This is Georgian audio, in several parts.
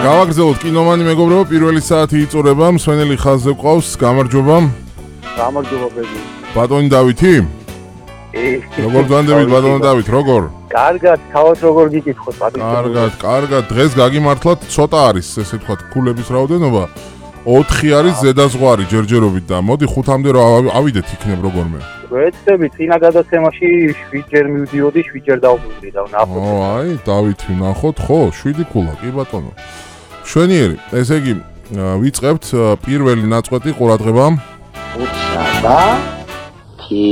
გავაგრძელოთ კინომანი მეგობრებო, პირველი საათი იწურება, მსვენელი ხაზზე ყავს, გამარჯობა. გამარჯობა ბედი. ბატონი დავითი? როგორ გვანდებით ბატონო დავით, როგორ? კარგად, თავად როგორ გიკითხოთ, ბატონო? კარგად, დღეს გაგიმართლათ, ცოტა არის, ესე ვთქვათ, ქულების რაოდენობა. 4 არის ზედაზღვარი ჯერჯერობით და მოდი 5-მდე რა ავიდეთ იქნებ როგორმე. ვეცდები, წინა გადაცემაში 7 ჯერ მივდიოდი, 7 ჯერ დავუბრუნდი და ვნახოთ. აი, დავითი ვნახოთ, ხო, 7 ქულა, კი ბატონო. შვენიერი, ესე იგი, ვიწყებთ პირველი ნაწყვეტი ყურადღება. უცაბა თი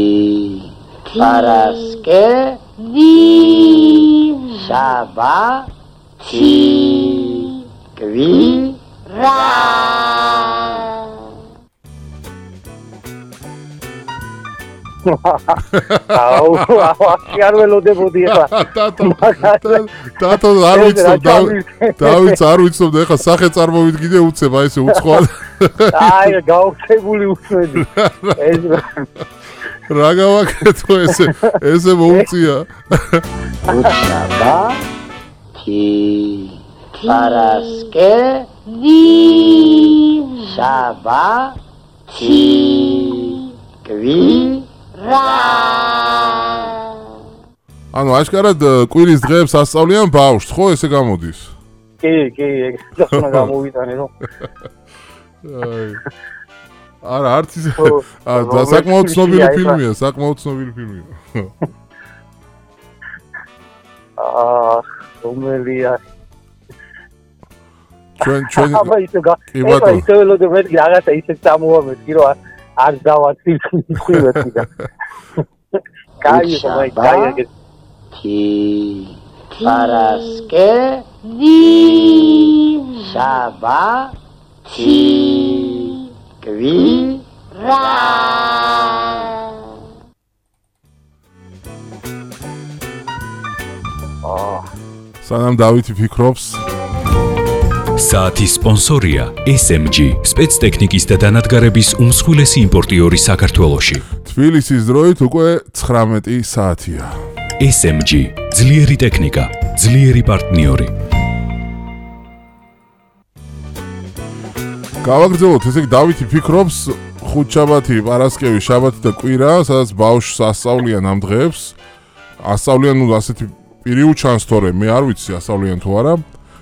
პარასკე შაბა თი კვი რა აუ, არ ველოდებოდი ახლა. დათო არ ვიცნობ, დავით არ ვიცნობ და ახლა სახე წარმოვიდგინე უცებ, აი ესე უცხოა. აი, გაუხსებული უცედი. ეს რა გავაკეთო ესე მოუწია. უცაბა თი პარასკე შაბა თი კვი ანუ აშკარად კვირის დღეებს ასწავლიან ბავშვს, ხო, ესე გამოდის? კი, ეგ უნდა გამოვიტანე, რომ არა, არც ისე. საკმაოდ ცნობილი ფილმია, რომელია? ჩვენ აბა ისე ველოდებ რაღაცა ისე წამოვამეთქი, რომ არ დავაცილხივეთი და კაი თი პარასკე შაბა თი კვი რა სანამ დავითი ფიქრობს საათის სპონსორია SMG, სპეცტექნიკის და დანადგარების უმსხვილესი იმპორტიორი საქართველოში. თბილისის დროით უკვე 19 საათია. SMG, ძლიერი ტექნიკა, ძლიერი პარტნიორი. გავაგრძელოთ, ესე იგი დავითი ფიქრობს ხუთშაბათი, პარასკევი, შაბათი და კვირა, სადაც ბავშვს ასწავლიან ამ დღეებს. ასწავლიან, ну, ასეთი პირი უჩანს თორე, მე არ ვიცი ასწავლიან თუ არა.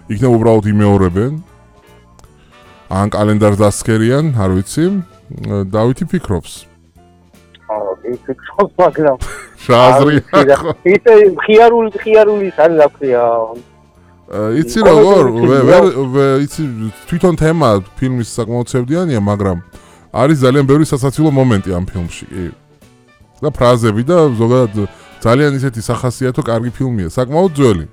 იქნებ უბრალოდ იმეორებენ. ან კალენდარს დასცქერიან, არ ვიცი. დავითი ფიქრობს. ფიქრობს, მაგრამ რა აზრია? ისე ხიარული არის რა ქვია. იცი როგორ? იცი თვითონ თემა ფილმის საკმაოდ ცევდიანია, მაგრამ არის ძალიან ბევრი სასაცილო მომენტი ამ ფილმში, კი. და ფრაზები და ზოგადად ძალიან ისეთი სახასიათო კარგი ფილმია, საკმაოდ ძველი.